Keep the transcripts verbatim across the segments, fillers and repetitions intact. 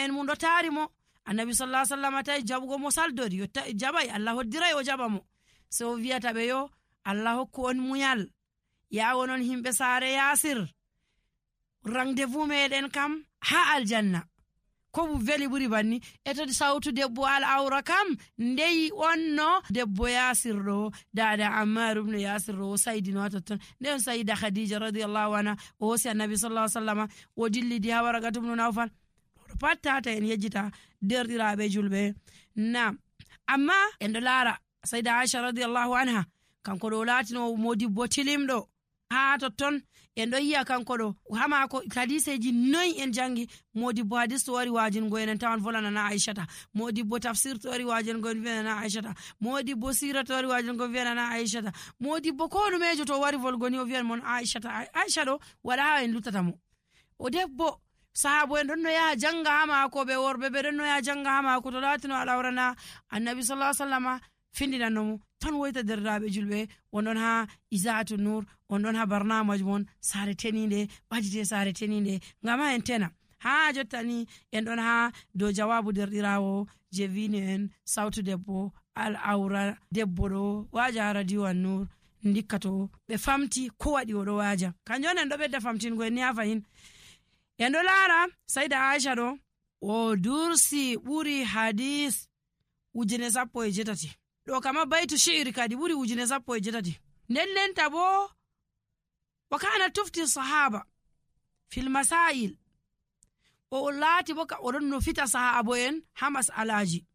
en mum ɗo taari mo. Annabi sallallahu alaihi wasallam tawi jabugo mo saldori yo jabay, Allah hoddiray o jaba mo. So o wiyata ɓe yo Allah hokku on munyal ya wonon himɓe saare Yasir, rendez-vous meɗen kam ha aljanna. Ko bu veli buri banni e to sawtu debbo al awra kam ndeyi onno debbo Yasir ɗo, dada Ammar ibn Yasir ɗo saydino totton. Nden sayida Khadija radiyallahu anha o hosi Annabi sallallahu alaihi wasallam o dillidi ha Waraqatu ibn Nawfal. Pat tata en yejjita derɗiraɓe julɓe. Nam amma en ɗo laara sayida Aisha radiyallahu anha kanko ɗo latino modibbo tilimɗo ha totton. En ɗo yiya kanko ɗo hamako hadiseji noyi en jangi. Modibbo hadis to wari wajingo en tawan volanana Aishata, modibbo tafsir to wari wajingo en wiyanana Aishata, modibbo sira to wari wajingo wiyanana Aishata, modibbo ko ɗumejo to wari volgoni o wiyan mon Aishata. Aisha ɗo waɗa ha en luttata mo. O debbo sahabo en ɗon no yaha janga ha mako, ɓe worɓe ɓe ɗon no yaha janga ha mako to latino alawrana Annabi sallallahu alaihi wasallam findinannomo tan woyta derdaɓe julɓe. On ɗon ha Izaatu Nur, on ɗon ha barnamaj mon sare teninde, ɓadite sare teninde ngam ha en tena. Ha jottani en ɗon ha dow jawabu derɗirawo je vini en sawtu debbo al awra debbo ɗo waja ha radio an Nur dikkato ɓe famti ko waɗi oɗo waja. Kanjon en ɗo ɓedda famtingo en ni ha fahin. En ɗo laara sayda Aisha ɗo o dursi ɓuri hadis ujune sappo e jetati. Ɗo kama baitu shi'ri kadi ɓuri ujune sappo e jetati. Nden lenta bo wa kana tufti sahaba fil masail. O laati bo ka oɗon no fita sahabo en ha masalaji.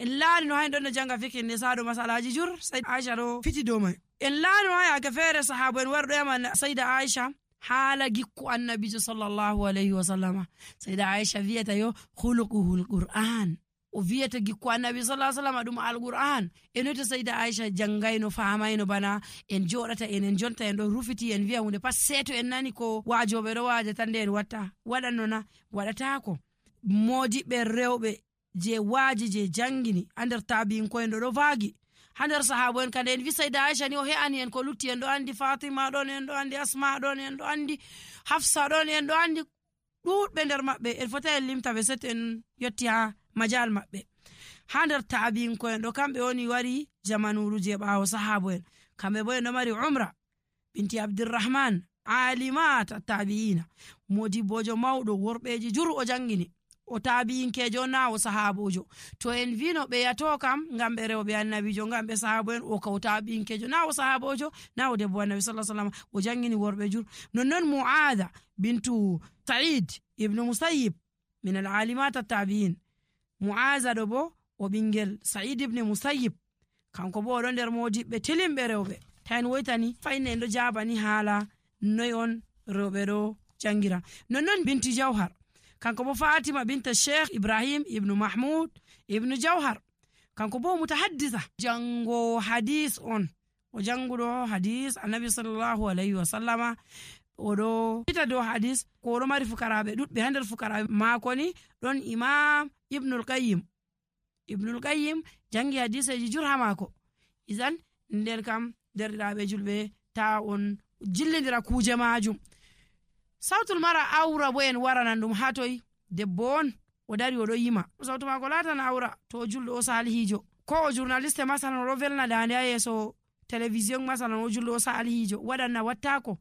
En laari no hayn ɗon no janga fikin ne saɗo masalaji jur sayda Aisha ɗo fiti dow mai. En laari no ha yake feere sahabo en warɗo yama sayda Aisha haala gikku annabijo sallallahu alaihi wasallama. Sayda Aisha wiyata yo khuluquhul Qur'an. O wiyata gikku annabi sallallahu alaihi wasallam ɗum alqur'an. Enoto sayda Aisha jangayno famayno bana en joɗata en en jonta en ɗo rufiti en wiya hunde pat seeto en nani ko wajoɓe ɗo waja tan nde en watta waɗanno na waɗatako. Modiɓɓe rewɓe je waaji je jangini ha nder tabi'inko'en ɗo ɗo vaagi ha nder sahabo en kadi en wi sayda Aisha ni o he'ani en ko lutti. En ɗo andi Fatima ɗon, en ɗo andi Asma ɗon, en ɗo andi Hafsa ɗon, en ɗo andi ɗuɗɓe nder maɓɓe. En fota en limta ɓe seto en yetti ha majal maɓɓe. Ha nder tabi'inko'en ɗo kamɓe woni wari jamanuru je ɓawo sahabo en. Kamɓe bo en ɗo mari Umra binti Abdurrahman, alimat tabi'ina, modibbojo mawɗo worɓeji jur o jangini. O tabi'inkejo na o sahabojo. To en vino ɓe yato kam ngam ɓe rewɓe annabijo, ngam ɓe sahabo en, o ka o tabi'inkejo na o sahabojo na o debbo annabi sallallahu alaihi wasallam o jangini worɓe jur. Nonnon Mu'adha bintu Sa'id ibn Musayyib min al-alimat at-tabi'in. Mu'adha ɗo bo o ɓingel Sa'id ibn Musayyib, kanko bo oɗo nder modiɓɓe tilimɓe rewɓe. Tayn woytani fayne en ɗo jabani haala noy on rewɓe ɗo jangira. Nonnon binti Jawhar, kanko bo Fatima binta Sheikh Ibrahim ibn Mahmud ibn Jawhar, kanko bo mutahaddisa jango hadis on. O janguɗo hadis annabi sallallahu alaihi wasallama. Oɗo fita dow hadis ko oɗo mari fukaraɓe ɗuɗɓe. Ha nder fukaraɓe mako ni ɗon Imam Ibnul Qayyim. Ibnul Qayyim jangi hadiseji jur ha mako. Izan nden kam derɗiraɓe julɓe ta on jillidira kuje majum. Sawtul mara awra bo en waranan ɗum ha toy. Debbo on o dari oɗo yima, sawtu mako latan awra to o julɗo o salihijo, ko o journaliste masalan oɗo velna dande ha yeso télévision masalan o julɗo o salihijo waɗanna wattako.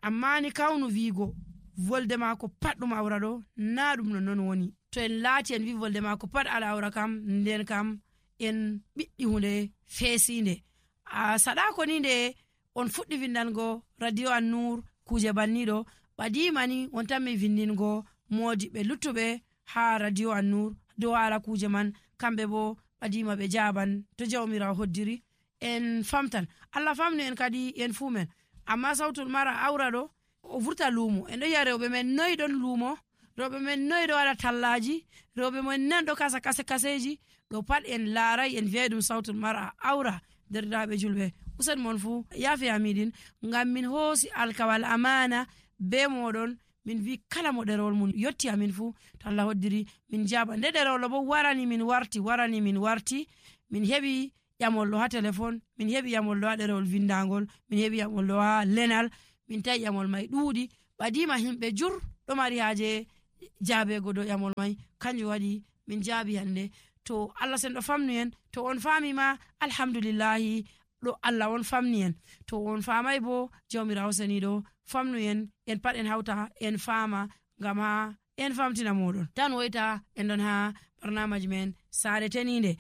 Amma ni kawnu wiigo volde mako pat ɗum awra ɗo na ɗum non non woni. To en laati en wi volde mako pat ala awra kam nden kam en ɓiɗɗi hunde feesinde. A saɗako ni nde on fuɗɗi vindango radio an Nur kuje banniɗo ɓadimani on tanmi vindingo modiɓɓe luttuɓe ha radio an Nur dow ala kuje man. Kamɓe bo ɓadima ɓe jaban to jawmirawo hoddiri en famtan. Allah famni en kadi en fu men. Amma sawtul mara awra ɗo o vurta luumo. En ɗo yiya rewɓe men noyi ɗon luumo, rewɓe men noyi ɗo waɗa tallaji, rewɓe men nan ɗo kasa kase kaseji. Ɗo pat en laaray en wiya ɗum sawtul mara awra. Derɗiraɓe julɓe usen mon fu yafe amidin ngam min hoosi alkawal amana be moɗon. Min wi kala mo ɗerewol mun yotti amin fu to Allah hoddiri min jaba. Nde ɗerewol bo warani min warti warani min warti min heɓi ƴamollo ha téléphone, min heɓi ƴamollo ha ɗerewol vindagol, min heɓi ƴamollo ha lenal, min tawi ƴamol mai ɗuuɗi ɓadima himɓe jur ɗo mari haje jaabego dow ƴamol mai kanjum waɗi min jaabi hande. To Allah sen ɗo famnu en, to on faami ma alhamdulillahi ɗo Allah on famni en, to on faamai bo jawmirawo seniɗo famnu en, en pat en hauta en faama ngam ha en famtina moɗon tan woyta en ɗon ha barnamaji men saare teninde.